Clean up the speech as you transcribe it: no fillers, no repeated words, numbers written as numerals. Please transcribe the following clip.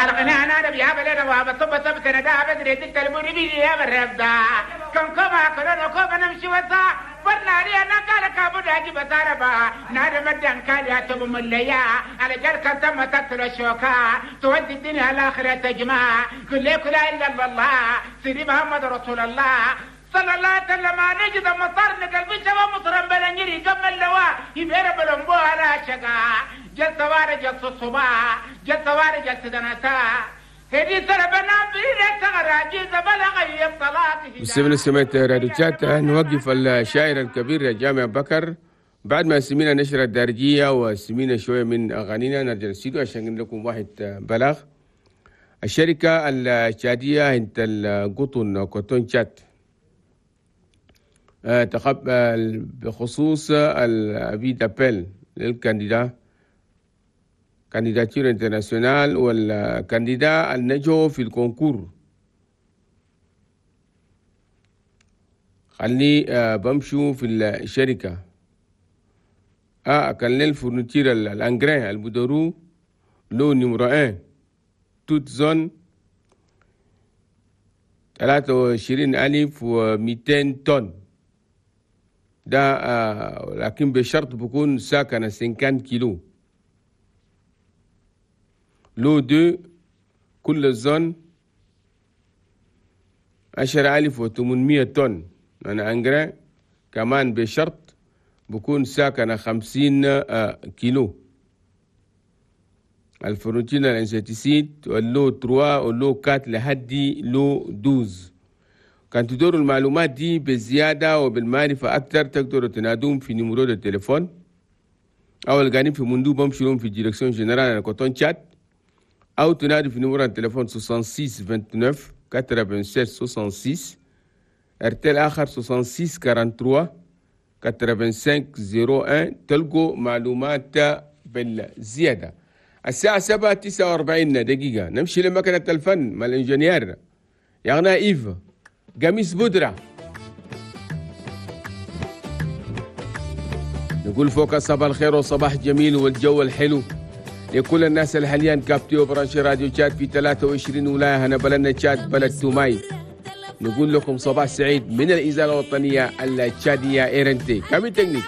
الغناء انا بيا بلنا وابا طب طب تندا بدري تلبوني بيجي يا بربدا كم كما كلنا كما نمشي وسا برناري انا قال كابو داجي بساربا نار مدن كان يا تب مليا على جل كان تم تتر الشوكا تودي الدنيا الاخره تجمع كل لا الا الله سيدي محمد رسول الله صلى الله عليه وسلم. نجد مطر قلبي شباب مطرم بلنجري كم اللواء يبير بلنبو على شقا جل سوار جل الصباح جل سوار جل دنتا هدي سربنا بير تغراجي زبلغ الطلاق. مستمعينا سمعت راديو تشاد، نوقف الشاعر الكبير جامع بكر بعد ما سمينا نشرة الدارجية وسمينا شوية من أغانينا. نرجع الاستوديو عشان نقول لكم واحد بلاغ. الشركة التشادية انت القطن كوتون تشاد تقبل بخصوص ال avis d'appel لل candidat candidature internationale وال candidat النجو في ال concours. خلي بمشوا في الشركة كان لل fourniture ال engrais البدورو lot numéro 1 toutes zones 23,200 طن ده، لكن بشرط بكون ساكنة 50 كيلو. lot 2 كل zone 10,800 طن أنا engrais كمان بشرط بكون ساكنة 50 كيلو. ال fourniture ال insecticide وال lot 3 وال lot 4 لحد lot 12. كان تدوروا المعلومات دي بزيادة وبالمعرفة أكثر تقدروا تنادوهم في numéro التليفون أو القاعدين في مندوب بمشوا في direction générale Coton Tchad، أو تنادوا في numéro التليفون 66 29 87 66، ارتل آخر 66 43 85 01. تلقوا معلومات بالزيادة. الساعة 7:49 دقيقة. نمشي لمكنة الفن مع ال ingénieur يغنى إيف قميص بودرة. نقول فوق صباح الخير وصباح جميل والجو الحلو لكل الناس اللي حاليا capté و branché راديو تشاد في 23 ولاية هنا بلدنا تشاد بلد توماي. نقول لكم صباح سعيد من الإذاعة الوطنية التشادية RNT. كامل تكنيك.